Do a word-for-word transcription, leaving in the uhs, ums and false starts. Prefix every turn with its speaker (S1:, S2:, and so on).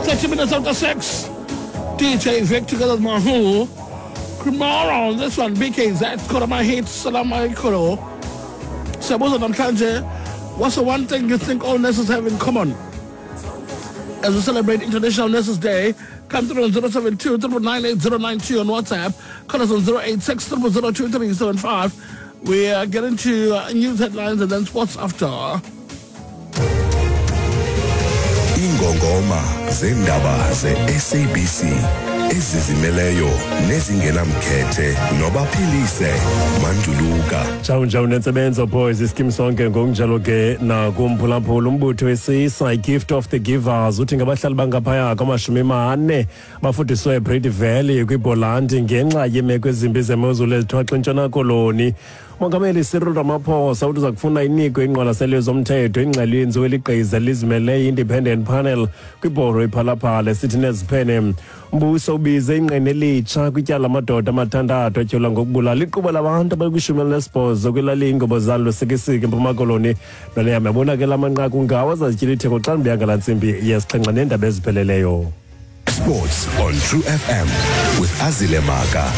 S1: Thirty minutes after six. DJ Vic together with Mahu. Tomorrow on this one, BKZ, Korama Hits, Salam Aikoro. Siyabuza namhlanje, what's the one thing you think all nurses have in common? As we celebrate International Nurses Day, come through on zero seven two, triple nine eight zero nine two on WhatsApp. Call us on zero eight six, triple zero two three seven five. We are getting to uh, news headlines and then sports after.
S2: Ingongoma zendaba ze-SABC ezizimeleyo nezingenamkhethe nobaphilise manduluka.
S3: Tshawu njawu nentsebenzo boys iskim sonke ngokunjalo ke nakumphulaphula umbutho wesisa i-Gift of the Givers uthi ngabahlali bangaphaya kwamashumi mane bafudiswe eBreede Valley kwiBholandi ngenxa yeemeko ezimbi zemozulu ezithwaxa iNtshona Koloni. Mongameli Cyril Ramaphosa uthi uza kufuna inikwe ingqwalaselo zomthetho ingxelo yenziwe ligqiza lizimeleyo i-Independent Panel kwibhoro iPhalaphala esithi neziphene. Umbuso ubize ingqina elitsha kwityala amadoda amathandathu atyholwa ngokubulala iquba labantu abakwishumi elinesibhozo kwilali iNgobozana Lusikisiki eMpuma Koloni. Noleyam yabona ke la manqaku ngawo azazityila itheko xa ndibuya ngala ntsimbi yesixhenxe neendaba ezipheleleyo.
S2: Sports on True FM with Azile Maka.